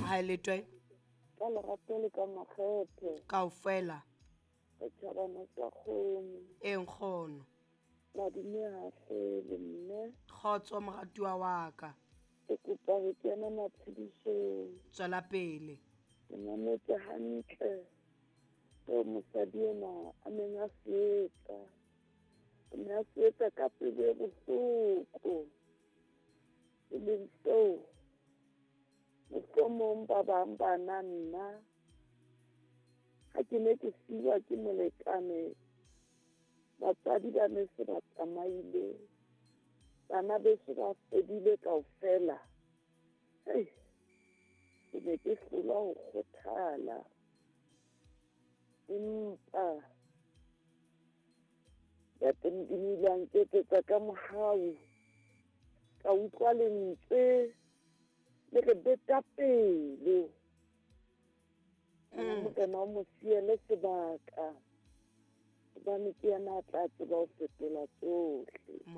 Ha e letwe. Ka lerato le ka makgethe. Kaofela. Setjhabana sa kgomo. E nkgono. Madume ha hlele mme. Kgotso moratuwa wa ka. Ke kopa ho kena matshedisong. Tswela pele. Ke mametse hantle seo mosadi enwa a neng a se etsa. O ne a se etsa ka pelo e bohloko. E leng seo mohlomong ba bang bana nna ha ke ne ke siwa ke molekane, batswadi ba ne se ba tsamaile, bana beso ba fedile kaofela. Hei, ke ne ke hlolwa ho kgothala. Empa Ntate Modimo o ile a nketsetsa ka mohau, ka utlwa lentswe le re beta pelo. Morena o mo siele sebaka, hobane ke yena a tla tseba ho fetola tsohle.